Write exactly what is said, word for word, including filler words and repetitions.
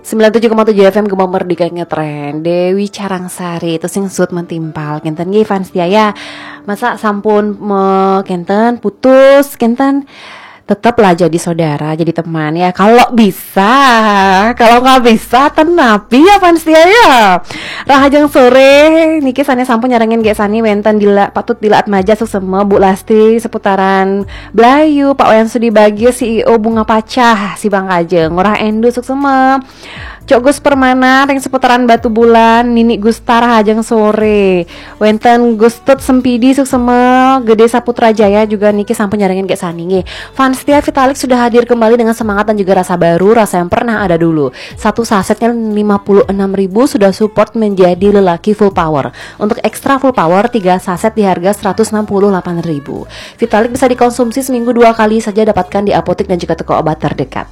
Sembilan tujuh koma tujuh F M Gema Merdeka Ngetren. Dewi Carangsari itu sing sut mentimpal. Kenten nggih fans setia ya. Masa sampun me, kenten putus, kenten tetaplah jadi saudara, jadi teman ya. Kalau bisa, kalau nggak bisa, tenapi ya fans setia ya. Rahajeng sore, niki sane sampun nyarengin Gek Sani wenten Dila, Patut Dila Atmaja suksema, Bu Lasti seputaran Blayu, Pak Wayan Sudi Bagio, C E O Bunga Pacah, Sibangkajeng, Ngurah Endu suksema. Cok Gus Permana, ring seputaran Batu Bulan, Nini Gustar Rahajeng sore. Wenten Gustut Sempidi suksema, Gede Saputra Jaya juga niki sampun nyarengin Gek Sani nggih. Fans setia Vitalik sudah hadir kembali dengan semangat dan juga rasa baru, rasa yang pernah ada dulu. Satu sasetnya lima puluh enam ribu sudah support menjadi lelaki full power. Untuk extra full power, tiga saset di harga seratus enam puluh delapan ribu. Vitalik bisa dikonsumsi seminggu dua kali saja, dapatkan di apotek dan juga toko obat terdekat.